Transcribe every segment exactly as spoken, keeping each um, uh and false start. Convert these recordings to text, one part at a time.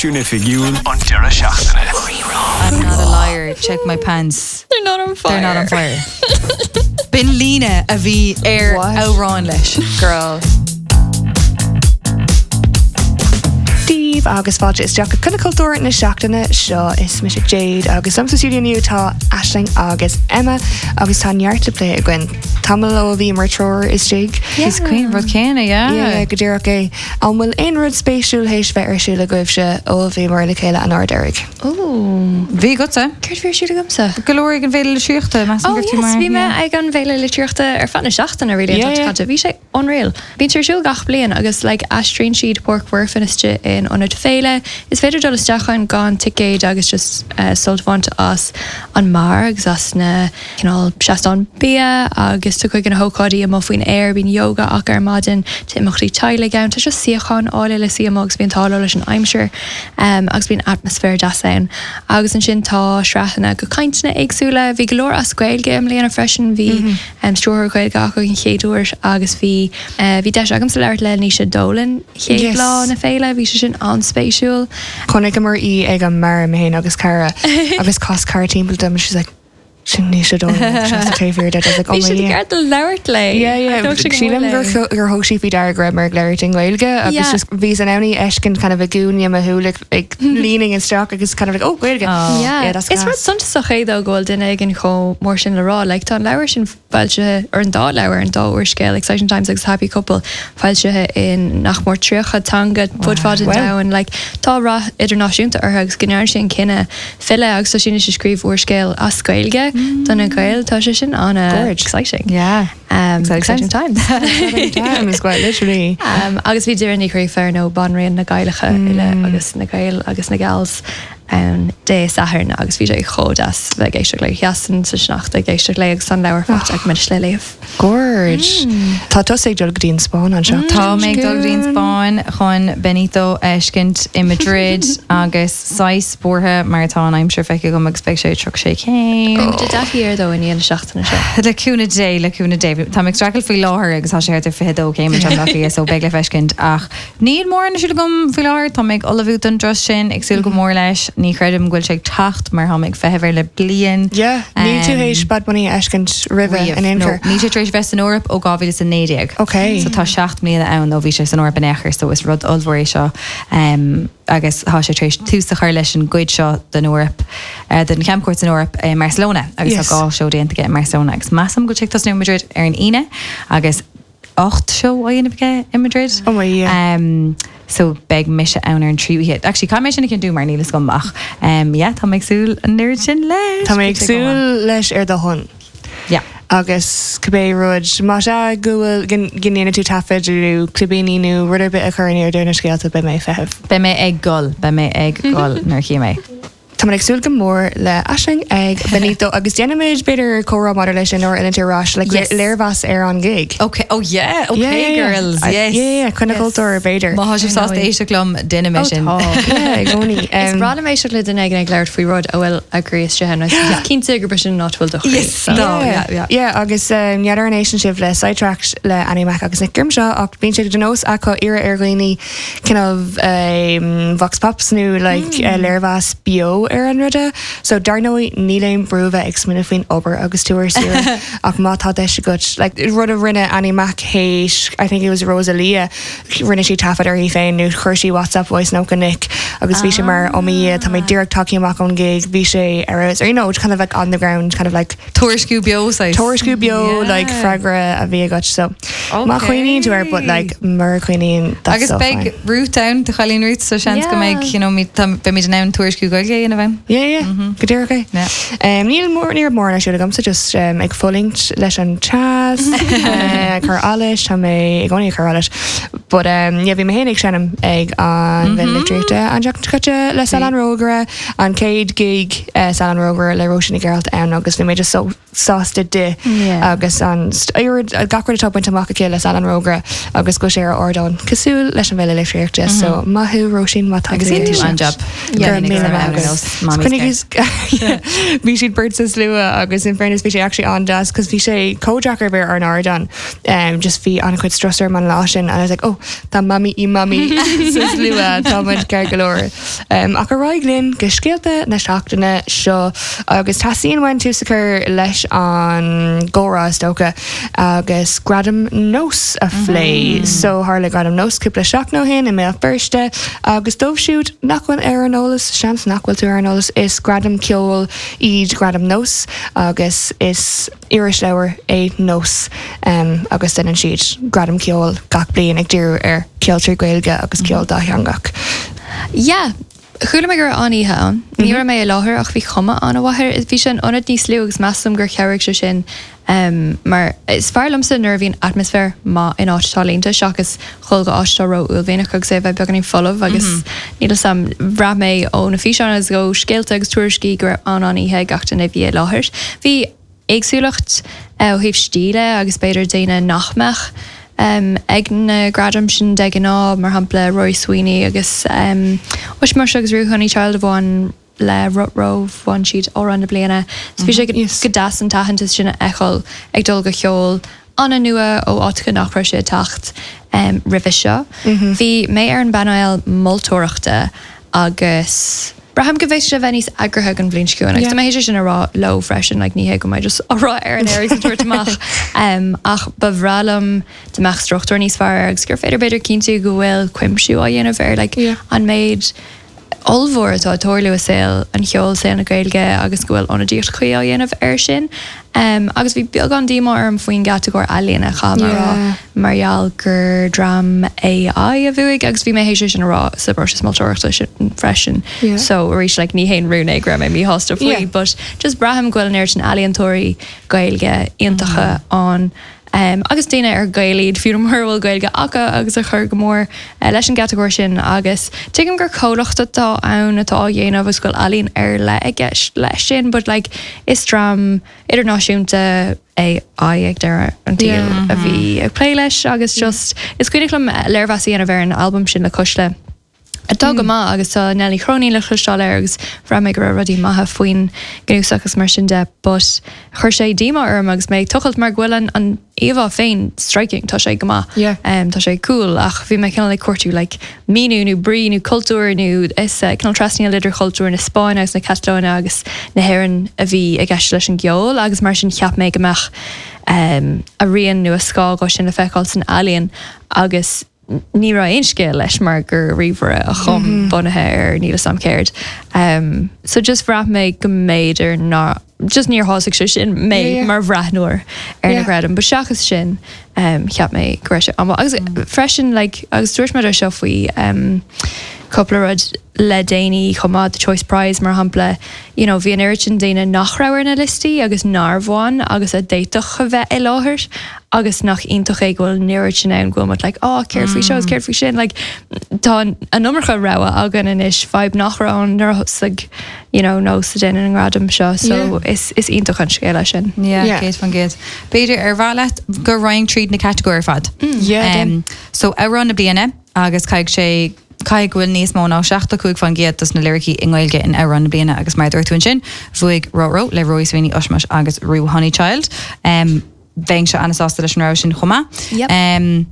Stáisiún Oifigiúil an deireadh seachtaine. I'm not a liar, check my pants. They're not on fire. They're not on fire. B'in líne a bhí ar amhrán leis. Girl. Dia daoibh agus fáilte isteach go Coinne Cultúir na seachtaine seo is mise Jade agus liom sa stiúideo inniu tá Aisling agus Emma agus tá neart le plé againn. Tamall ó bhíomar triúr istigh. Is cuimhin rud céanna, yeah. Yeah, go díreach é. An bhfuil aon rud spéisiúil théis bheith ar siúl agaibhse ó bhíomar le chéile an uair deiridh? Ooh. Bhí agatsa. Céard bhí ar siúl agamsa? Go leor ag an bhFéile Litríochta, measaim Oh gur tú yes, mar. bhí mé ag an bhFéile Litríochta ar feadh na seachtaine really Yeah, an yeah. caite. Bhí sé unreal. Bíonn sé ar siúl gach bliain agus like aistríonn siad Páirc Mhuirfean istigh in ionad féile. Is féidir dul isteach ann gan ticéad agus just uh, sult a bhaint as an mbeár agus as na cineál seastán bia agus tá cuid de na hócáidí amuigh faoin aer bíonn yoga acu ar maidin tá imeachtaí teaghlaigh ann, tá just suíocháin áille le suí amuigh agus bíonn t-ádh leis an aimsir um, agus bíonn atmaisféar deas ann. Agus ansin tá sraitheanna go cainteanna éagsúla, bhí go leor as Gaeilge i mbliana freisin, bhí mm -hmm. um, stiúrthóir Gaeilge acu an chéad uair agus bhí uh, bhí deis agamsa labhairt le Naoise Dolan chéad Yes. lá na féile, bhí sé sin an-spéisiúil. Chonaiceamar í ag an mbeár mé féin agus cara agus chas cara timpeall dom she's like sin Naoise Dolan taobh thiar de like, oh Bhí my sé yeah. ceart labhairt léi. Yeah, yeah. Thóg sé go Sílim mór gur léi. cho- gur thóg sí faoi deara go raibh mé ag labhairt i nGaeilge agus Yeah. just bhí an anní eiscin kind of a gúine mo shúile ag leaning isteach agus kind of like oh Gaeilge. Oh. Yeah. Yeah, that's Is rud class. suntasach é dó go bhfuil duine éigin chomh mór sin le rá, like, tá an leabhar sin foilsithe ar an dá leabhar an dá úrscéal Exciting Times agus Happy Couple foilsithe in nach mór tríocha teanga fud fad an Wow. domhain like, tá rath idirnáisiúnta orthu agus go ndearna sé an cinneadh filleadh agus tá sé ag scríobh úrscéal as Gaeilge do na Gaeil tá sé sin an Gorge. exciting. Yeah. Um, Exciting exciting times. Times quite literally. Um, agus bhí Doireann Ní Ghríofa nó banríon na Gaelacha uile agus na Gaeil agus na Gals um, Dé Sathairn agus bhí sé chomh deas bheith ag éisteacht léi sheasainn sa sneachta ag éisteacht léi agus an leabhar faighte agam anois le léamh. Gorge. Tá tusa ag dul go dtí an Spáinn anseo. Tá mé ag dul go dtí an Spáinn chun Benito a fheiscint i Madrid agus sais buartha mar tá an aimsir feicthe agam agus beidh sé tríocha sé céim. Tá deí ar dó in na seachtaine seo. Le cúnamh Dé le cúnamh Dé Tá ag streachailt faoi láthair agus tá sé thart ar fiche dó céim an so beidh le feiscint ach níl mórán ar siúl agam faoi láthair tá ag ullmhú don turas sin ag súil go mór leis ní chreidim go bhfuil sé ag teacht mar tá ag feitheamh air le bliain. Yeah, níl tú Um, théis Bad Bunny a fheiscint roimhe in aon No, chor. Níl sé tar éis bheith san Eoraip ó dhá mhíle is a naoi déag. Okay. So tá seacht mbliana ann ó bhí sé san Eoraip in aon chor, so is rud ollmhór é seo. Um, agus tá sé tar éis tús a chur leis an gcuid seo den Eoraip uh, den camchuairt san Eoraip i Barcelona agus Yes. tá dhá seó déanta aige i Barcelona agus measaim go dtig tosnú Madrid ar an Aoine agus ocht seó á dhéanamh aige i Madrid. Oh my yeah. Um, so beidh mise ann ar an tríú hit. Actually, caithfidh mé sin a chinntiú mar níl a fhios agam ach. Um, yeah, tá mé ag súil an oiread sin leis. Tá mé ag súil leis ar do shon. Yeah. Agus cibé rud má sé go bhfuil go ndéanfaidh tú taifead nó clibíní nó rud ar bith a chur in airde na scéalta beidh mé ag feitheamh. Beidh mé ag gol, beidh mé ag gol nuair a chí mé. Tá ag súil go mór le Aisling ag Benito agus déanfaimid b'fhéidir comhrá maidir leis sin nuair a arís le Yes. léirmheas ar an gig. Okay. Oh yeah. Okay, Yeah, yeah, yeah. girls. I- Yes. Yeah, yeah, Coinne Cultúir b'fhéidir. Má sibh sásta éisteacht liom déanfaidh mé sin. Yeah, i gcónaí. Is Um, breá liom éisteacht le duine éigin ag labhairt faoi rud a bhfuil a gcroí istigh ann. Is cinnte gur sin nach bhfuil do chroí. Yes, so. no. yeah, yeah. Yeah, agus um, n'fheadar an éisteann sibh le Sidetracked le Annie Mac agus Nick Grimshaw ach bíonn sé de nós acu iarraidh ar dhaoine kind of um, vox pops nó like mm. uh, léirmheas beo ar an ruda. So dar ndóigh níl aon brú bheith ag smaoineamh faoin obair agus tú ar saoire ach má tá deis agat like rud a rinne Annie Mac théis I think it was Rosalia rinne sí taifead uirthi féin nó chuir sí WhatsApp voice note go Nick agus bhí sé mar oh my tá mé díreach tagtha amach ón gig bhí sé ar or you know kind of like on the ground kind of like Tuairisciú beo saghas. Tuairisciú beo Yeah. like freagra a bhí agat so má chuimhníonn tú air but like mura gcuimhníonn that's Agus so beidh fine. Ruth ann do chailín Ruth so seans go Yeah. mbeidh you know, mi- tá- beimid in ann tuairisciú Gaeilge a dhéanamh ann. Yeah, yeah, go díreach é. Yeah. Um, níl mór níor mór siúl agamsa just um, ag fulaingt leis an teas uh, cur allais tá mé i gcónaí ag cur allais. But um, yeah, bhí mé féin ag seinm ag an bhFéile Litríochta an tseachtain seo caite le Salann Rógaire an chéad gig uh, Salann Rógaire le Róisín Nic Gearailt ann agus bhí mé just so sásta di Yeah. agus an st- oiread- gach rud atá bainte amach aici le Salann Rógaire agus go sé ar ardán cosúil leis an bhFéile Litríochta so maith thú Róisín má tá Agus dhein tú an-jab. Go raibh míle maith agat. Just Bhí siad beirt sa slua agus in fairness bhí sé actually an-deas cos bhí sé chomh deacair bheith ar an ardán um, just bhí an-chuid strus orm an lá sin and I was like oh tá mami i mami sa slua tá muid ceart go leor. Um, ach ar aghaidh linn go scéalta na seachtaine seo agus teastaíonn uainn tús a chur leis an gcomhrá is dócha agus gradam NÓS a phlé. Mm -hmm. So tharla gradam NÓS cúpla seachtain ó shin i mBéal Feirste agus dóibh siúd nach bhfuil ar an eolas seans nach bhfuil tú ar an eolas is gradam ceoil iad gradam NÓS agus is irisleabhar é NÓS um, agus déanann siad gradam ceoil gach bliain ag díriú ar ceoltóirí Gaeilge agus ceol dátheangach. Yeah, Chuala mé go raibh an-oíche ann. Ní raibh mé i láthair ach bhí cuma an-mhaith air. Bhí sé in ionad níos lú agus measaim gur chabhraigh sé sin um, mar is fearr liomsa nuair a bhíonn atmaisféar maith in áit atá líonta seachas dhul go áit atá ró-uaillmhianach agus é bheith beagáinín folamh agus mm -hmm. níl a fhios agam bhraith mé ó na físeáin agus ó scéalta agus tuairiscí go raibh an-an-oíche ag gach duine a bhí i láthair. Bhí éagsúlacht ó thaobh stíle agus b'fhéidir daoine nach mbeadh um, ag na gradaim sin de ghnáth mar shampla Rory Sweeney agus um, Ushmush agus Ruth Honeychild a bhain le Rutrow bhain siad amhrán na bliana. So bhí sé go Yes. go deas an t-aitheantas sin a fheiceáil ag dul go ceol an-nua ó áiteacha nach raibh sé ag teacht um, roimhe seo. Bhí mé ar an bpainéal moltóireachta agus braithim go bhféadfadh sé bheith níos eagraithe an bhliain seo chugainn. Agus Yeah. tá mé sé sin a rá leo freisin, like, ní hé go mbeidh just á rá ar an air agus ag tabhairt amach. Um, ach ba bhreá liom dá mbeadh struchtúr níos fearr agus gur féidir b'fhéidir cinntiú go bhfuil cuimsiú á dhéanamh ar like, Yeah. an méid ollmhór atá ag tarlú i saol an cheoil saol na Gaeilge agus go bhfuil ionadaíocht chuí á dhéanamh air sin. Um, agus bhí beagán díomá orm faoin gcatagóir ealaíona cha mar Yeah. rá mar gheall gur dream AI a bhuaigh agus bhí mé théis sin a rá sa bpróiseas moltóireachta sin freisin. Yeah. So arís like, ní haon rún é go raibh mé míshásta faoi, Yeah. but just braithim go bhfuil an oiread sin ealaíontóirí Gaeilge iontacha ann. Um, agus daoine ar Gaeil iad fiú mura bhfuil Gaeilge acu agus a chur go mór uh, leis an gcatagóir sin agus tuigim gur comhlacht atá ann atá á dhéanamh agus go bhfuil ealaín ar leith i gceist leis sin, but like, is dream idirnáisiúnta AI ag deireadh an tsaoil Yeah. a bhí ag plé leis agus just is cuimhin liom léirmheas a dhéanamh ar an album sin le Cuisle. Atá go maith agus tá Nelly Cronin le cloisteáil air agus bhraith mé go raibh rudaí maithe faoin gcnuasach agus mar sin de, but chuir sé díomá orm agus mé ag tochailt mar go bhfuil an, an íomhá féin striking tá sé go maith. Yeah. Um, tá sé cool ach bhí mé cineál ag cuartú like, míniú nó brí nó cultúr nó is uh, cineál trasnaíl idir chultúr na Spáinne agus na Catalóine agus na hÉireann a bhí i gceist leis an gceol agus mar sin cheap mé go mbeadh um, a rian nó a scáth sin le feiceáil san ealaíon agus ní raibh aon scéal leis mar gur ríomhaire a chum mm -hmm. bunaithe ar níl a fhios agam céard. Um, so just bhraith mé go mb'fhéidir ná just níor shásaigh sé sin mé Yeah, yeah. mar bhreathnóir ar na Yeah. gradaim, but seachas sin um, cheap mé go raibh sé an agus mm. freisin like, agus dúirt mé seo faoi um, cúpla rud le déanaí chomh maith the Choice Prize mar shampla you know, bhí an oiread sin daoine nach raibh ar na liostaí agus nár bhain agus a d'fhéadfadh a bheith i láthair agus nach iontach é go bhfuil an oiread sin ann go bhfuil muid like oh céard faoi seo céard faoi sin like tá an iomarca rogha againn anois fadhb nach raibh ann nuair a thosaigh you know NÓS ag déanamh an gradam seo so Yeah. is is iontach an scéal é sin. Yeah, Yeah. céad faoin gcéad. B'fhéidir ar mhaith leat go raghainn tríd na catagóirí ar fad. Yeah, Um, so amhrán na bliana agus caithfidh sé caithfidh go bhfuil níos mó ná seachtó cúig faoin gcéad dos na liricí i nGaeilge in amhrán na bliana agus mar dúirt tú ansin, bhuaigh Rutrow le Rory Sweeney Ushmush agus Ruth Honeychild. Um, Bheinnse an-sásta leis an rogha sin chomh maith. Yep. Um,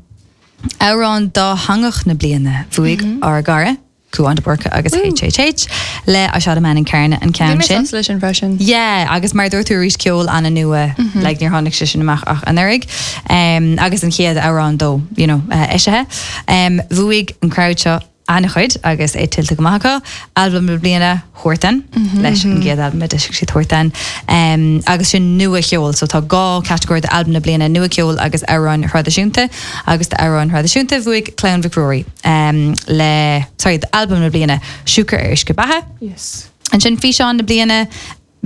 Amhrán dátheangach na bliana bhuaigh mm -hmm. ár gcara Cúán de Burca agus HHH le I Shot a Man in Carna an Bhí ceann mé sin. sásta leis sin freisin. Yeah, agus mar dúirt tú arís ceol an-nua mm -hmm. like, níor tháinig sé sin amach ach anuraidh. Um, agus an chéad amhrán dó you know, uh, eisithe. Um, bhuaigh an crowd seo an-chuid agus é tuillte go maith acu, albam na bliana Huartan mm -hmm. leis an gcéad albam a d'eisigh siad Huartan. Um, agus sin nua-cheol, so tá dhá catagóir d'albam na bliana nua-cheol agus amhráin thraidisiúnta agus d'amhráin thraidisiúnta bhuaigh Clann Mhic Ruairí um, le sorry, d'albam na bliana Siúcra ar Uisce Beatha. Yes. Ansin físeán na bliana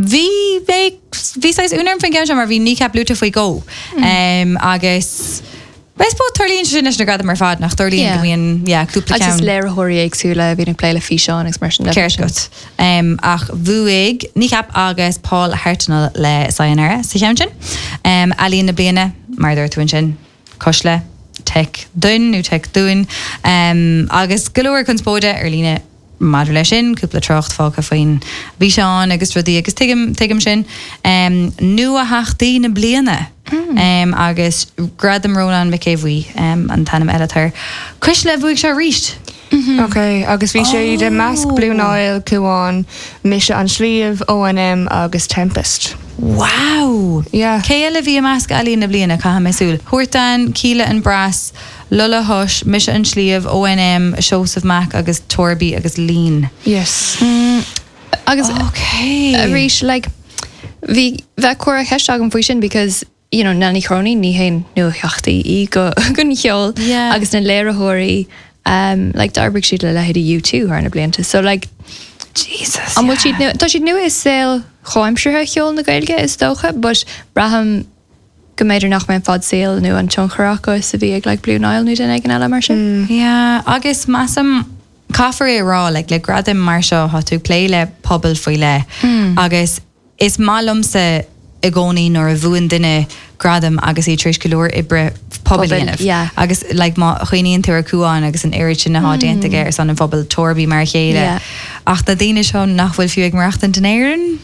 bhí bhí bhí saghas ionadh orm faoin gceann seo mar bhí Kneecap luaite faoi dhó. Um, agus I suppose tarlaíonn sin leis na gradaim ar fad nach tarlaíonn Yeah. go mbíonn yeah, cúpla Agus is ceann. léiritheoirí éagsúla a bhíonn ag plé le físeán agus mar sin de. Ceart agat. Um, ach bhuaigh Kneecap agus Paul Hartnoll le Sayonara sa cheann sin. Um, Ealaín na bliana mar dúirt tú ansin Cuisle Teic Dún nó Teic Dún um, agus go leor conspóide ar líne maidir leis sin, cúpla trácht fágtha faoin bhfíseán agus rudaí agus tuigim tuigim sin. Um, Nuatheachtaí na bliana. Um, agus Gradam Rónán Mac Aodha Bhuí um, an t-ainm eile air. Cuisle bhuaigh sé arís. Ok, agus bhí sé i measc Blue Nile, Cuan, Mise an Sliabh, ONM agus Tempest. Wow! Yeah. Cé eile bhí i measc ealaín na bliana caithfidh mé súil. Huartan, Kíla and Brass, Lola Hush, Mise an Sliabh, ONM, Seosamh Mac agus Torby agus Lean. Yes. Agus Okay. arís like bhí bheith cuara cheist agam faoi sin because you know Nell Ní Chróinín ní haon nuatheachtaí í go gon cheol Yeah. agus na léiritheoirí um, like d'oibrigh siad le leithéidí U two thar na blianta so like Jesus. an bhfuil siad nua tá siad nua i saol chomhaimseartha cheol na Gaeilge is dócha but braithim go mb'fhéidir nach mbeidh fad saoil nó an tionchar acu is a bhí ag like Blue Nile nó duine éigin eile mar sin. Yeah, agus measaim caithfear é rá like, le gradaim mar seo tá tú ag plé le pobal faoi leith agus is maith liomsa i gcónaí nuair a bhuann duine gradam agus iad tar éis go leor oibre pobail Pobail, dhéanamh. yeah. Agus like, má chuimhníonn tú ar Cuan agus an oiread sin atá déanta aige ar son an phobail Torby mar a chéile. Yeah. Ach na daoine seo nach bhfuil fiú ag maireachtaint in Éirinn?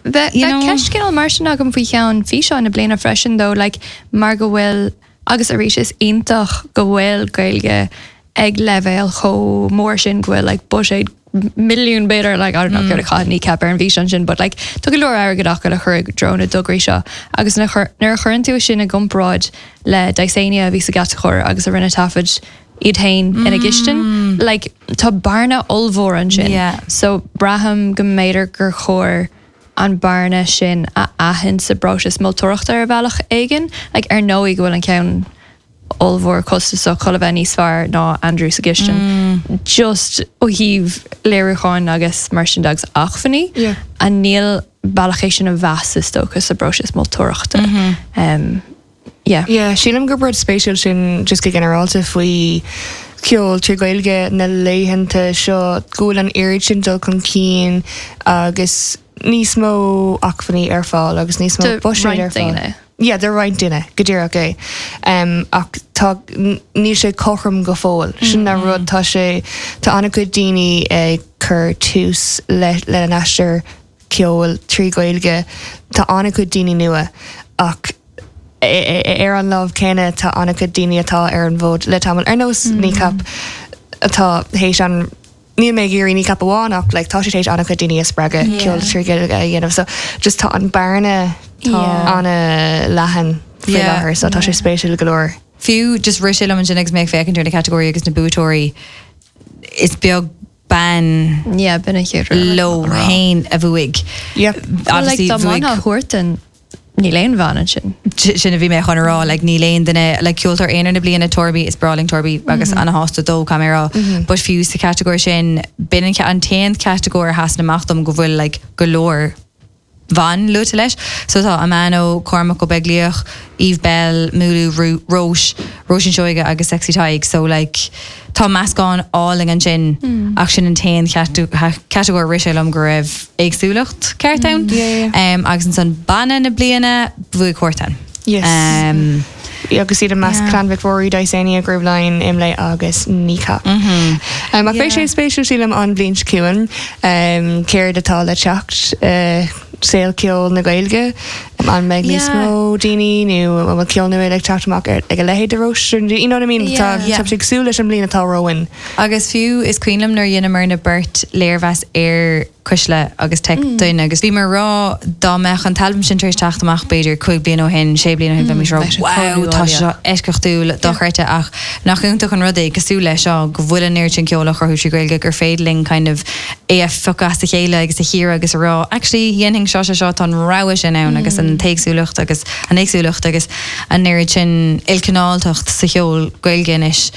Bheith You know- ceist cineál mar sin agam faoi cheann físeán na bliana freisin though like mar go bhfuil agus arís is iontach go bhfuil Gaeilge ag leibhéal chomh mór sin go bhfuil like buiséad milliún b'fhéidir like I don't know céard a chaith Kneecap ar an bhfíseán sin but like tá go leor airgead acu le chur i dtreo na dtograí seo agus nuair a nuair a chuireann tú sin i gcomparáid le Dysania a bhí sa gcatagóir agus a rinne taifead iad féin ina gcistin like tá bearna ollmhór ansin Yeah. so braithim go mb'fhéidir gur chóir an bearna sin a aithint sa bpróiseas moltóireachta ar bhealach éigin, like ar ndóigh go bhfuil an ceann ollmhór costasach chun a bheith níos fearr ná Andrew sa gcistin. Just ó thaobh léiriúcháin agus mar sin de agus acmhainní Yeah. an níl bealach é sin a mheas is dócha sa bpróiseas moltóireachta. Um, yeah. Yeah, sílim gur rud spéisiúil sin just go ginearálta faoi ceol trí Gaeilge na laethanta seo go bhfuil an oiread sin dul chun cinn agus níos mó acmhainní ar fáil agus níos mó Do buiséad roinnt ar fáil. daoine. Yeah, de roinnt duine go díreach é. Um, ach tá níl sé cothrom go fóill. Sin na rud tá sé tá an-chuid daoine ag cur tús le le an aistear ceol trí Gaeilge tá an-chuid daoine nua ach e- e- ar an lámh céanna tá an-chuid daoine atá ar an bhfód le tamall ar nós Kneecap atá théis an Níl mé ag iarraidh Kneecap amháin ach like, tá sé théis an-chuid daoine a spreagadh Yeah. ceol trí Gaeilge a dhéanamh so just tá an bearna Yeah. an-leathan faoi Yeah. láthair so tá sé spéisiúil go leor. Fiú just rith sé liom ansin agus mé ag féachaint ar na catagóirí agus na buaiteoirí is beag bean Yeah, b'in an chéad rud. leo féin a bhuaigh. Yep. Well, like, Obviously dá bhuaigh mbainfeá Huartan níl aon bhean ansin. sin a bhí mé chun a rá like, níl aon duine like, ceoltóir aonair na bliana Torby is breá linn Torby agus an-shásta dó camera but fiú sa catagóir sin b'in an an t-aon catagóir a sheasann amach dom go bhfuil like, go leor ban luaite leis. So tá Amano, Cormac Ó Beaglaoich, Eve Belle, Múlú Ru- Róis, Róisín Seoige agus Sexy Tadhg. So like, tá meascán álainn ansin ach sin an t-aon catagóir rith sé liom go raibh éagsúlacht ceart ann. Yeah, yeah. Um, agus ansan banna na bliana bhuaigh Huartan. Yes. Um, agus iad i measc Yeah. Clann Mhic Ruairí Dysania Grooveline Imlé agus Kneecap. Um, ach beidh sé spéisiúil sílim an bhliain seo chugainn um, céard atá le teacht uh, saol ceol na Gaeilge an mbeidh níos Yeah. mó daoine nó an bhfuil ceol nua ag teacht amach ar ag a leithéid de Róis you know what I mean Yeah. Tá Yeah. tá sé cosúil leis an mbliain atá romhainn. Agus fiú is cuimhin liom nuair a dheineamar na beirt léirmheas ar Cuisle agus Tech Duine agus bhí mar rá dá mbeadh an t-albam sin tar éis teacht amach b'fhéidir cúig bliain ó shin sé bliain ó shin bheimis rá bheadh sé wow chomh tá nuálaíoch. seo eisceachtúil dochreidte ach nach iontach an rud é cosúil leis seo go bhfuil an oiread sin ceol á chruthú trí Gaeilge gur féidir linn kind of é a phiocadh as a chéile agus a chíoradh agus a rá actually dhéanfainn seo seo seo tá an rogha sin ann agus an t-éagsúlacht agus an éagsúlacht agus an oiread sin ilchineáltacht sa cheol Gaeilge anois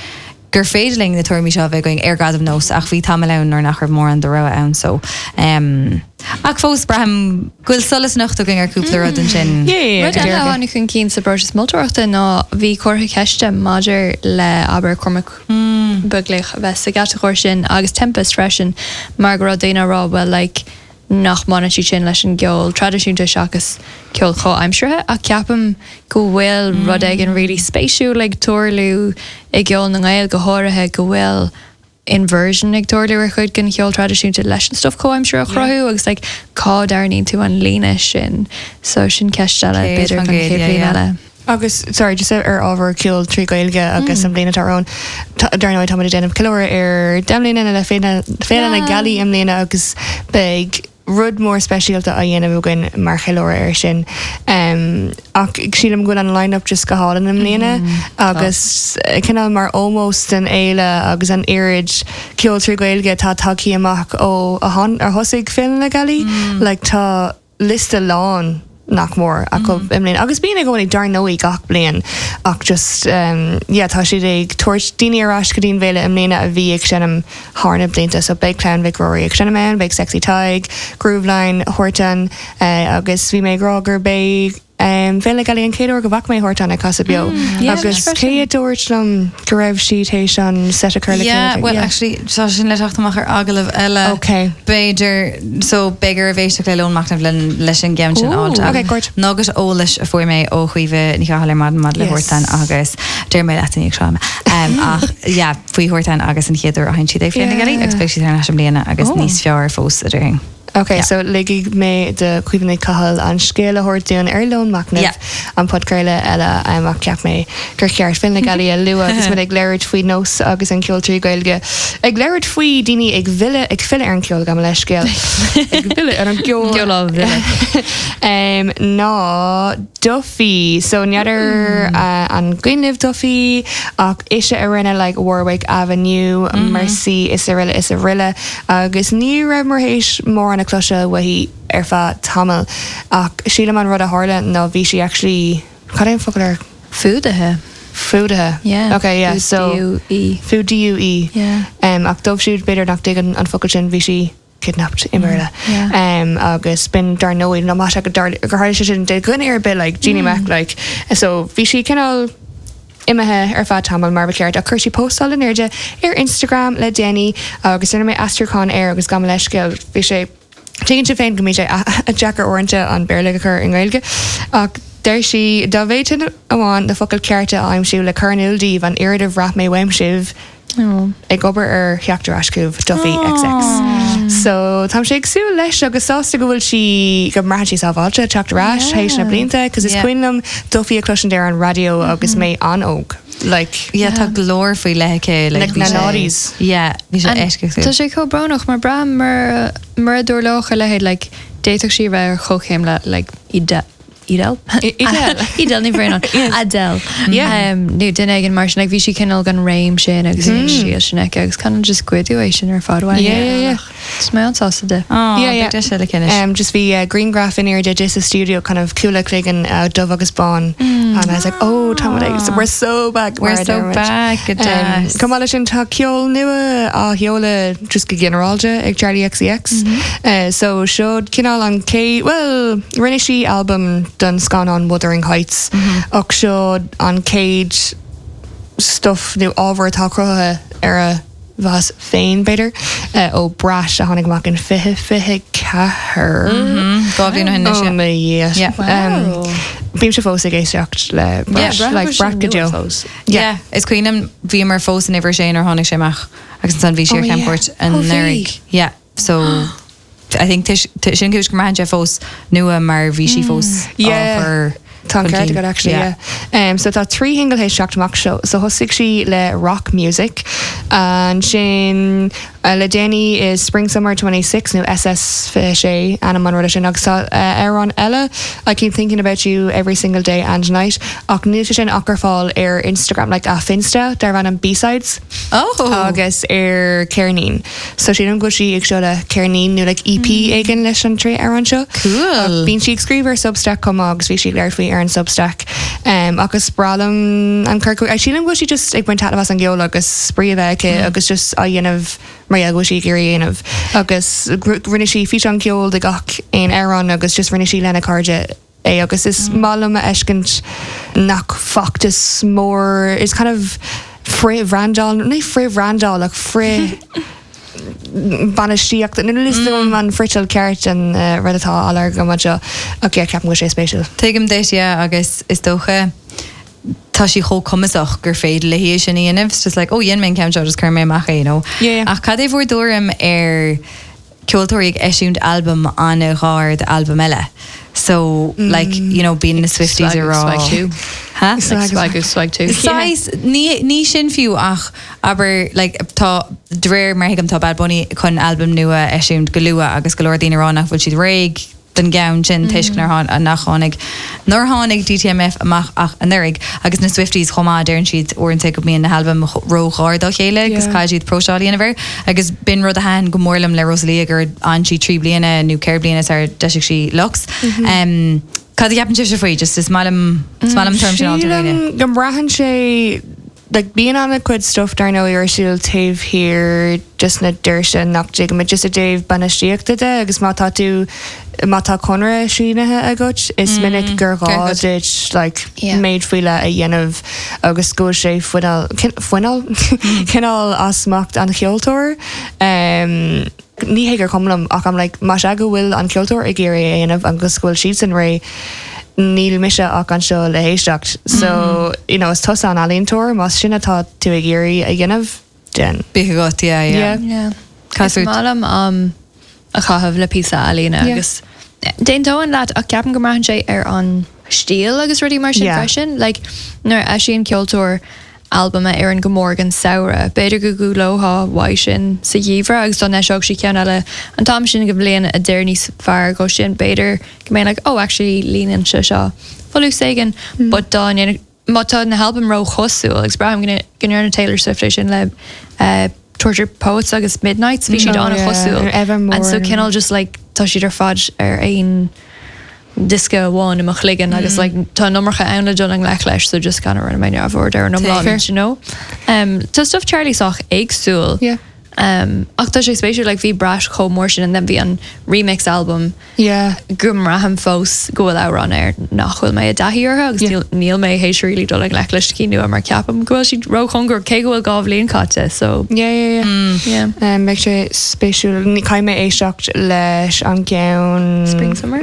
gur féidir linn na tuairimí seo a bheith againn ar Gradam Nós ach bhí tamall ann nuair nach raibh mórán de rogha ann so um, ach fós braithim go bhfuil solas anocht againn ar cúpla rud ansin. Yeah, Rud eile a tháinig chun cinn sa bpróiseas moltóireachta ná bhí comhartha ceiste maidir le abair Cormac Beaglaoich a bheith sa gcatagóir sin agus Tempest freisin mar go raibh daoine ag rá well like nach mbaineann siad sin leis an gceol traidisiúnta seachas ceol comhaimseartha ach ceapaim go bhfuil rud éigin really spéisiúil ag tarlú i gceol na nGael go háirithe go bhfuil inversion ag tarlú ar chuid den cheol traidisiúnta leis an stuff comhaimseartha a chruthú agus like cá dtarraingíonn tú an líne sin so sin ceist eile Céad b'fhéidir faoin don gcéad, chéad yeah, bhliain yeah. eile. Agus sorry just ar ábhar ceol trí Ghaeilge agus an bhliain atá romhainn dar ndóigh táimid ag déanamh ceiliúradh ar deich mbliana le Féile na Yeah. Gealaí i mbliana agus beidh rud mór speisialta á dhéanamh againn mar cheiliúradh air sin. Um, ach sílim go bhfuil an line-up just go hálainn i mbliana agus eh, cineál mar ómós den fhéile agus an oiread ceol trí Ghaeilge atá tagtha amach ó a han ar thosaigh Féile na Gealaí, like tá liosta lán nach mór acu i mbliana. Agus bíonn i gcónaí dar ndóigh gach bliain ach just um, yeah, tá siad ag tabhairt daoine ar ais go dtí an bhféile i mbliana a bhí ag seinm thar na blianta, so beidh Clann Mhic Ruairí ag seinm ann, beidh Sexy Tadhg, Grooveline, Huartan uh, agus bhí mé ag rá gur bé um, Féile na Gealaí an chéad uair go bhfaca mé Huartan ag casadh beo. yeah, agus freisin. cé a dúirt liom go raibh sí théis an set a chur le Yeah, chéile? well Yeah. actually tá sin le teacht amach ar agallamh eile. Okay. B'fhéidir so b'fhéidir a bhéisteach le Lón Machnamh le leis an gceann sin Ooh. áilte. Okay, great. Nugget eolais a fuair mé ó Chaoimhe Ní Chathail ar maidin maidir le Yes. Huartan agus deir mé leat ag seo. Um, ach yeah, faoi Huartan agus an chéad uair a sheinn siad ag Féile na Gealaí Yeah. agus beidh siad ar ais i mbliana agus Oh. níos fearr fós a déarfainn. Okay, Yeah. so ligfidh mé do Caoimhe Ní Chathail an scéal a thabhairt dúinn ar Lón Machnamh Yeah. an podchraoladh eile um, ach ceap mé gur cheart Féile na Gealaí a lua agus muid ag labhairt faoi nós agus an ceol trí Ghaeilge. Ag labhairt faoi daoine ag filleadh ag filleadh ar an ceol gabh mo leithscéal. ag filleadh ar an gceol. Ceol á bhfilleadh. um, ná Duffy so n'fheadar mm. uh, an cuimhin libh Duffy ach ise a rinne like Warwick Avenue mm -hmm. Mercy is araile is araile agus ní raibh mar théis mór an cloise uaithi ar feadh tamall ach sílim an rud a tharla ná bhí sí actually cad é an focal ar Fuadaithe. fuadaithe Yeah. okay yeah so U-E. Fu D U E Yeah. um, ach dóibh siúd b'fhéidir nach dtuigeann an focal sin bhí sí kidnapped i mBéarla. Yeah. Um, agus b'in dar ndóigh ná go gur tharla sé sin de dhuine ar bith like Jeannie Mac like so bhí sí cineál imithe ar feadh tamall mar ba cheart a chuir sí postáil in airde ar Instagram le déanaí agus rinne mé aistriúchán air agus gabh mo leithscéal bhí sé Tuigeann sibh féin go mbíonn sé a deacair uaireanta an Béarla a chur i nGaeilge ach deir sí dá bhféadfainn amháin na focail cearta a aimsiú le cur in iúl daoibh an oiread a bhraith mé uaim sibh Oh. ag obair ar theacht ar ais chugaibh Duffy XX. So tá sé ag súil leis agus sásta go bhfuil sí go mbraitheann sí sábháilte teacht ar ais théis na blianta, cos is Yeah. cuimhin liom Duffy a chloisint ar an raidió agus mé an-óg. Like Yeah, tá glór faoi leith aici Like bhí na sé- noughties. Yeah, bhí sé And eisceachtúil. Tá sé chomh brónach mar braithim mar mar a dtarlódh a leithéid like d'fhéadfadh sí bheith ar chomhchéim le like Ide Edel? I- Edel. Edel ní bhréan Adele. Yeah. Um, nó duine éigin mar sin like, bhí sí cineál gan réim sin agus mm. sí sin aici agus kind of just goideadh é sin ar fad uaithi. Yeah, yeah, yeah. Is mé an-sásta di. Oh, Yeah, yeah. yeah. sé le cinnis. Um, just bhí uh, grianghraf in airde di sa studio kind of cúla cloigeann uh, dubh agus bán mm. and I was like oh tá like, so we're so back We're mar a so deir muid. back, go Um, deas. Chomh maith leis sin tá ceol nua á sheoladh just go ginearálta ag Charli XCX. Mm -hmm. uh, so seo cineál an cé well rinne sí album don scannán Wuthering Heights mm -hmm. ach seo an chéad stuff nó ábhar atá cruthaithe ar a bhas féin b'fhéidir uh, ó Brat a tháinig amach in fiche fiche ceathair. Dhá bhliain ó shin Oh anois, my yeah. Yeah. Um, Bím se fós ag éisteacht le Brat, Yeah, like Brat go deo. Yeah. yeah. Is cuimhin liom bhíomar fós in uimhir sé nuair tháinig sé amach agus ansan bhí sé Oh, ar yeah. camchuairt an Oh, bhí. anuraidh. Yeah. So I think tis- t- sin cúis go mbraitheann sé fós nua mar bhí sí fós á Yeah. chur Tá chun ceart cinn. agat actually, yeah. Um, so tá trí shingil théis teacht amach seo so thosaigh sí le rock music ansin uh, le déanaí is Spring Summer twenty-six nó SS fiche sé ainm an ruda sin agus tá uh, amhrán eile I keep thinking about you every single day and night ach níl sé sin ach ar fáil ar Instagram like a Finsta darb ainm B-sides Oh. agus ar ceirnín. So sílim go bhfuil sí ag seoladh ceirnín nó like EP éigin leis an trí amhrán seo. Cool. Ach Bíonn sí ag scríobh ar Substack chomh maith agus bhí sí ag labhairt faoi ar an Substack. Um, agus breá liom an cur sílim go bhfuil sí just ag baint taitneamh as an gceol agus spraoi a bheith aici agus just á dhéanamh mar go bhfuil sí ag iarraidh a dhéanamh. Agus rinne sí físeán ceoil de gach aon amhrán agus just rinne sí lena cairde é agus is maith liom a fheiscint nach feachtas mór is kind of frith-bhrandáil ní frith-bhrandáil ach frith bainistíocht nu mm. an friotal ceart an uh, rud atá á lorg go seo ach yeah, ceapaim go sé spéisiúil. Tuigim duit yeah, agus is dócha tá sí chomh cumasach gur féidir léi sin a dhéanamh. It's just like, oh, dhein mé an ceann seo just chuir mé amach é, you know. Yeah, yeah. Ach cad é bhur dtuairim ar ceoltóirí ag eisiúint albam an-ghar d'albam eile? So, like, you know, bíonn na Swifties Swag a rá. swag two. Huh? Like swag swag two. Saghas, ní, ní sin fiú ach abair like, tá de réir mar thuigim tá Bad Bunny chun albam nua eisiúint go luath agus go leor daoine rá nach bhfuil siad réidh don gceann sin toisc nár tháin- nach tháinig nár tháinig DTMF amach ach anuraidh agus na Swifties chomh maith deireann siad uaireanta go mbíonn na halbaim róghar dá chéile agus Yeah. caithfidh siad próiseáil a dhéanamh air agus b'in rud a thaitin go mór liom le Rosalia gur fhan sí trí bliana nó ceithre bliana sar d'eisigh sí Lux. Um, Cad a cheapann sibhse faoi just is maith liom is maith liom term sin Sílim go mbraitheann sé like bíonn an-chuid stuff dar ndóigh ar siúl taobh thiar just na doirse nach dtuigimid just i dtaobh bainistíochta de agus má tá tú má tá conradh sínithe agat is minic gur gá Gur duit like Yeah. méid faoi leith a dhéanamh agus go bhfuil sé fuinneal fuinneal cineál as smacht an cheoltóir. Um, ní hé gur cuma liom ach I'm like má sé go bhfuil an ceoltóir ag iarraidh é a dhéanamh agus go bhfuil siad san réidh níl mise ach anseo le héisteacht. So you know, is tusa an ealaíontóir más sin atá tú ag iarraidh a dhéanamh den. Bí agat yeah, yeah. Yeah. Yeah. Cad Is fút? maith liom um, a chaitheamh le píosa ealaíne Yeah. agus D'aontóinn leat ach ceapaim go mbraitheann sé ar an stíl agus rudaí mar sin Yeah. freisin, like nuair a eisíonn ceoltóir albam a oireann go mór don samhradh, B'fhéidir go gcodlófá uaidh sin sa gheimhreadh agus dá n-eiseodh sí ceann eile an t-am sin den bhliain a d'oir níos fearr go sin b'fhéidir go mbeinn like, oh actually líonann sé seo folús éigin, mm. but dá ndéanadh- má tá na halbaim róchosúil agus braithim go ndearna Taylor Swift é sin le uh, Tortured Poets agus Midnights bhí siad Oh, an yeah. chosúil Evermore and so and- cineál just like tá siad ar fad ar aon diosca amháin i mo chloigeann agus like tá an iomarca ann le dul i ngleic leis so just kind of rinne mé neamhaird ar an iomlán Fair. you know um, tá stuff Charlie sách éagsúil Yeah. um, ach tá sé spéisiúil like bhí Brat chomh mór sin and then bhí an remix album Yeah. go mbraithim fós go bhfuil amhrán air nach bhfuil mé i dtaithí orthu agus Yeah. níl níl mé théis really dul i ngleic leis cinn nua mar ceapaim go bhfuil siad róchóngarach cé go bhfuil dhá bhliain caite so Yeah, yeah, yeah. yeah. Um, beidh sé spéisiúil Ní caithfidh mé éisteacht leis an gceann Spring summer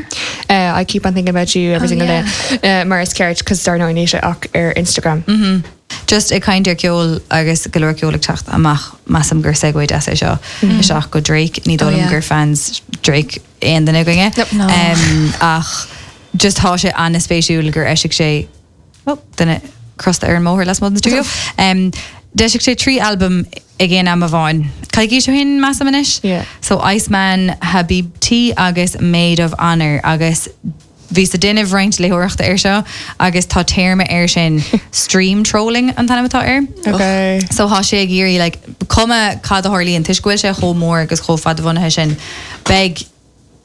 Uh, I keep on thinking about you every Oh, single yeah. day. Uh, mar is ceart cos dar ndóigh níl sé ach ar Instagram. Mm -hmm. Just ag caint ar ceol agus go leor ceol ag teacht amach measaim gur segue deas é seo isteach go Drake ní Oh, dóigh liom yeah. gur fans Drake aon duine againne. Nope. No. Um, ach just tá sé an-spéisiúil gur eisigh sé oh, duine crosta ar an mbóthar lasmuigh den studio. Um, D'eisigh sé trí albam ag aon am amháin. Coicís ó shin measaim anois? Yeah. So Iceman, Habibti agus Maid of Honor agus bhí ag déanamh roinnt léitheoireachta air seo agus tá téarma air sin stream trolling an t-ainm atá air. Okay. So tá sé ag iarraidh like, cuma cad a tharlaíonn toisc go bhfuil sé chomh mór agus chomh fadbhunaithe sin beidh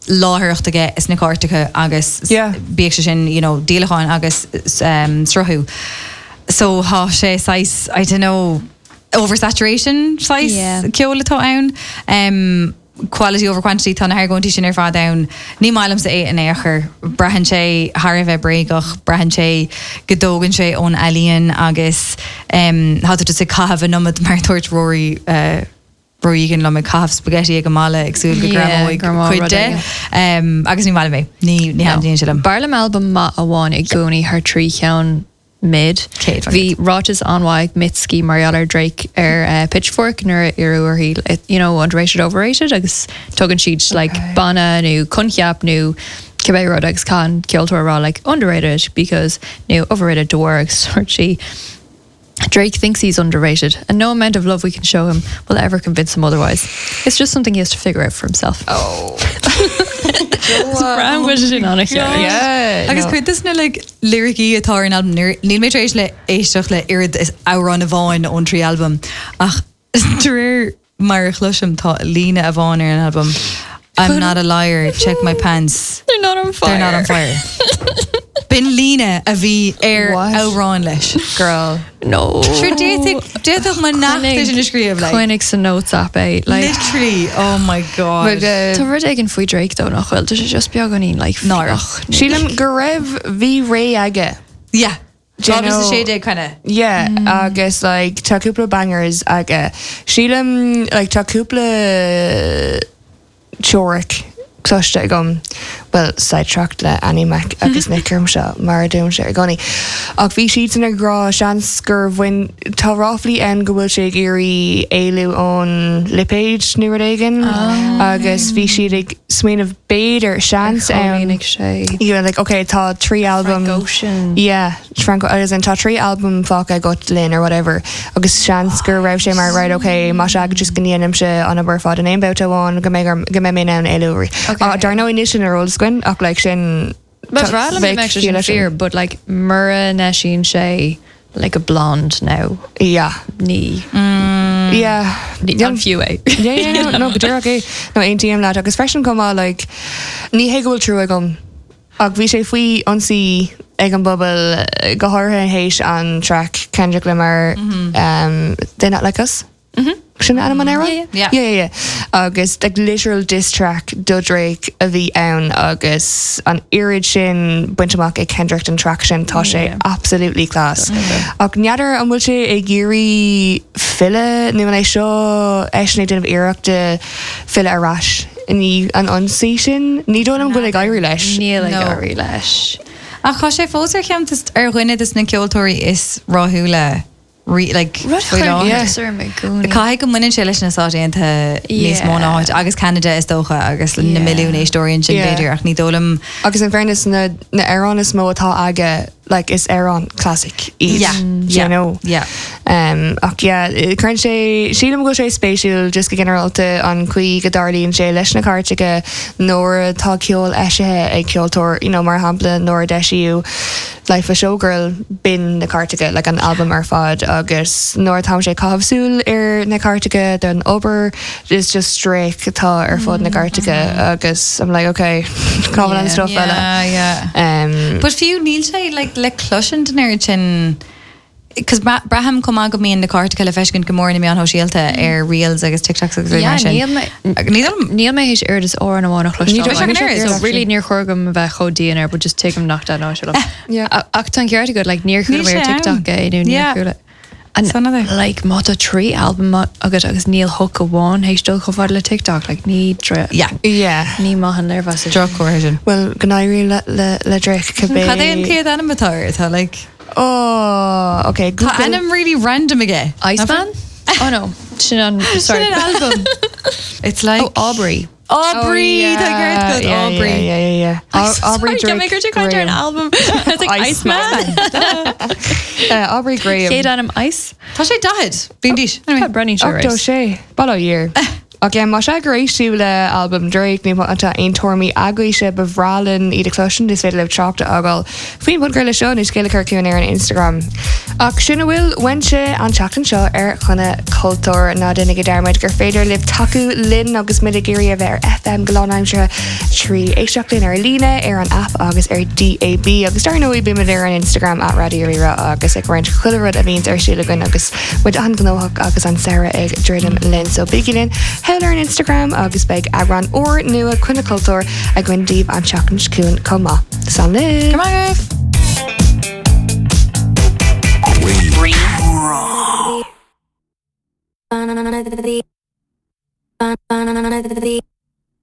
láithreacht aige sna cairteacha agus Yeah. bíodh sé sin you know, díolacháin agus um, sruthú. So tá sé saghas, I don't know, oversaturation saghas Yeah. ceol atá ann. Um, quality over quantity tá na hargóintí sin ar fad ann. Ní maith liomsa é in aon chor braitheann sé thar a bheith bréagach, braitheann sé go dtógann sé ón ealaín agus um, tá tú ag caitheamh an iomad mar dúirt Rory uh, Roigan liom ag caitheamh spaghetti ag an mballa ag súil go Yeah, greamóidh greamóidh cuid rud de. éigin. Um, agus ní maith liom é ní ní thaitníonn sé liom. B'fhearr liom albam maith amháin i gcónaí thar trí cheann mid. Céad Bhí ráiteas an-mhaith ag Mitski mar gheall ar Drake ar uh, Pitchfork nuair a iarradh uirthi you know underrated overrated agus tugann siad like banna nó coincheap nó cibé rud agus an ceoltóir rá like underrated because nó overrated de bharr agus dúirt sí Drake thinks he's underrated and no amount of love we can show him will ever convince him otherwise. It's just something he has to figure out for himself. Oh. Brown bhfuil sin an Yeah. Agus no. cuid de na like, lyricí atá ar an albam níl mé tar éis le éisteacht le oiread is amhrán amháin ón trí albam ach de réir mar a chloisim tá líne amháin ar an albam. I'm not a liar, check my pants. They're not on fire. They're not on fire. B'in líne a bhí ar What? amhrán leis. Girl. No. Sure d'fhéadfadh mo nach sin a scríobh like. Coinnigh sa notes app é like Literally, oh my god. But, uh, Tá rud éigin faoi Drake though nach bhfuil, tá sé just beagáinín like Náireach. fliuch. Sílim go raibh bhí ré aige. yeah. Do you know- sé kind of. Yeah, agus like tá cúpla bangers aige. Sílim like tá cúpla teoiric cloiste agam, Well Sidetracked le Annie Mac agus Nick Grimshaw mar a dúim sé i gcónaí. Ach bhí siad san ag rá seans gur bhain tá ráflaí ann go bhfuil sé ag iarraidh éalú ón lipéad nó rud éigin agus bhí siad ag smaoineamh b'fhéidir seans ann Chomhlíonfaidh sé you know, like okay tá trí album Frank Ocean. Yeah, Frank agus an tá trí album fágtha agat linn or whatever agus seans gur raibh sé mar right okay má sé just go ndéanaimse an obair fad in aon babhta amháin go mbeidh go mbeidh mé in ann éalú. Okay. Dar ndóigh níl sin ar eolas againn ach like sin Ba bhreá liom bheadh mbeadh sé ciall sin leis sin. fíor, but like mura n-eisíonn sé like a blonde now Yeah. ní Yeah. ní Yeah. an fiú é. Yeah, yeah, no, no, go díreach é. No, aontaím leat agus freisin chomh maith like ní hé go bhfuil trua agam ach bhí sé faoi ionsaí ag an bpobal eh, go háirithe théis an track Kendrick Lamar um, They Not Like Us. Sin ainm an amhráin? Yeah, yeah. Yeah, yeah, yeah. Agus like literal diss track do Drake a bhí ann agus an oiread sin bainte amach ag Kendrick an track sin tá sé Yeah. absolutely class. Ach n'fheadar an bhfuil sé ag iarraidh filleadh nó an é seo eisean ag déanamh iarrachta filleadh ar ais ní an ionsaí sin ní dóigh liom go bhfuil ag éirí leis. Níl ag No. éirí leis. Ach tá sé fós ar cheann ar dhuine des na ceoltóirí is rathúla rí like Rud faoi láthair. yeah. mé gcónaí. Caithfidh go mbaineann sé leis na Stáit Aontaithe níos mó Yeah. ná áit agus Canada is dócha agus na Yeah. milliún éisteoirí sin Yeah. b'fhéidir ach ní dóigh liom Agus in fairness na na hamhráin is mó atá aige like is amhráin classic iad. Yeah. you Yeah. know. Yeah. Um, ach yeah, cuireann sé sílim go bhfuil sé spéisiúil just go ginearálta an chaoi go dtarlaíonn sé leis na cairteacha nuair atá ceol eisithe ag ceoltóir, you know, mar shampla nuair a d'eisíodh Life of Showgirl b'in na cairteacha like an album ar fad agus nuair atá sé caitheamh súil ar na cairteacha don obair is just Drake atá ar fud na cairteacha agus I'm like okay cá bhfuil an stuff eile. Yeah, yeah. Um, But fiú níl sé like, le cloisint an oiread sin Cos braithim chomh maith go mbíonn na cairteacha le feiscint go mór na meáin shóisialta ar reels agus TikToks agus Yeah, mar sin. níl mé Níl Níl mé théis oiread is amhrán amháin a Ní chloisteáil. dóigh liom So really níor chóir dom a bheith chomh dian air, but just tuigim nach dá ná Yeah. Ach tá an ceart agat like níor chuala Níl mé ar sé ann. TikTok é nó níor Yeah. chuala. And It's another. like má tá trí album agat agus níl hook amháin théis dul chomh fada le TikTok like ní dre- Yeah. yeah. ní maith an léirmheas é sin. Droch sin. Well go n-éirí le, le, le Drake cibé. Cad é an chéad ainm atá air? Tá like Oh, okay. Tá Google. ainm really random aige. Iceman? Oh no, sin an sorry. Sin an album. It's like Oh Aubrey. Aubrey Oh, tá ceart agat, yeah, Aubrey. Yeah, yeah, yeah, yeah. Au- Aubrey Sorry, Drake. Drake Graham. Graham. an album. It's like Iceman. Iceman. Uh, Aubrey Graham. Chéad ainm Ice. Tá sé daichead. Bíon dís. Tá Brenny sure Ochtó sé. Bail ó Dhia. Ach yeah, má sé gur éist sibh le album Drake nó atá aon tuairimí agaibhse ba bhreá linn iad a chloisint is féidir libh trácht a fhágáil. Faoin bpodchraoladh seo nó scéal a chur chugainn ar an Instagram. Ach sin a bhfuil uaimse an tseachtain seo ar Choinne Cultúir ná déanaigí dearmad gur féidir libh tacú linn agus muid ag iarraidh a bheith ar FM go lánaimseartha trí éisteacht linn ar líne ar an app agus ar DAB agus dar ndóigh bímid ar an Instagram at Radio Rí-Rá agus ag roinnt chuile rud a bhíonns ar siúl againn agus muid an-ghnóthach agus an samhradh ag druidim linn so bígí linn thall ar an Instagram agus beidh eagrán úr nua Coinne Cultúir againn daoibh an tseachtain seo chugainn chomh maith. Slán libh! Come on, guys. Banana, banana, banana,